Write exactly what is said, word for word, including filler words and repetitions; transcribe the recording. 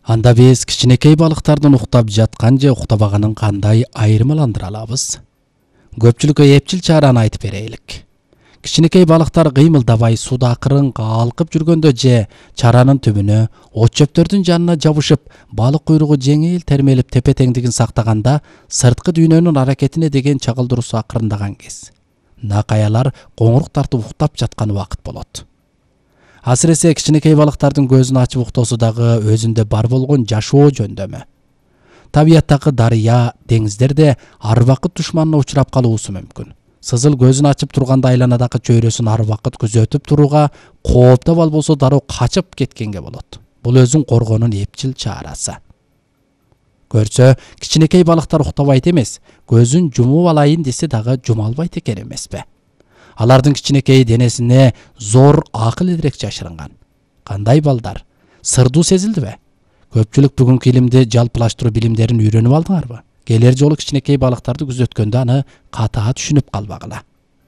Анда биз кичинекей балыктардын уктап жаткан же уктабаганын кандай айырмаландыра алабыз? Көпчүлүккө эпчил чараны айтып берелик. Кичинекей балыктар кыймылдабай сууда акырын калкып жүргөндө же чаранын түбүнө, от чөптөрдүн жанына жабышып, балык куйругу жеңил термелип тепе-теңдигин сактаганда, сырткы дүйнөнүн аракетине деген чагылдыруусу акырындаган кез. Накаялар коңурук тартып уктап жаткан убакыт болот. Асыресе кичинекей балыктардын көзүн ачып уктоосу дагы өзүндө бар болгон жашоо жөндөмү. Табияттагы дарыя, деңиздерде ар убакыт душманына учурап калуусу мүмкүн. Сызыл көзүн ачып турганда айланадагы чөйрөсүн ар убакыт күзөтүп туруга, кооптоп албосо дароо качып кеткенге болот. Бул өзүн коргоонун эпчил чарасы. Көрсө, кичинекей балыктар уктабайт эмес, көзүн жумуп алайын десе дагы жума албайт экен эмеспи? Алардын кичинекей денесине зор акыл идирек жашырынган. Кандай балдар? Сырдуу сезилдиби? Көпчүлүк бүгүнкү илимди жалпылаштыруу билимдерин үйрөнүп алдыңарбы? Келер жолу кичинекей балыктарды күзөткөндө аны катаа түшүнүп калбагыла.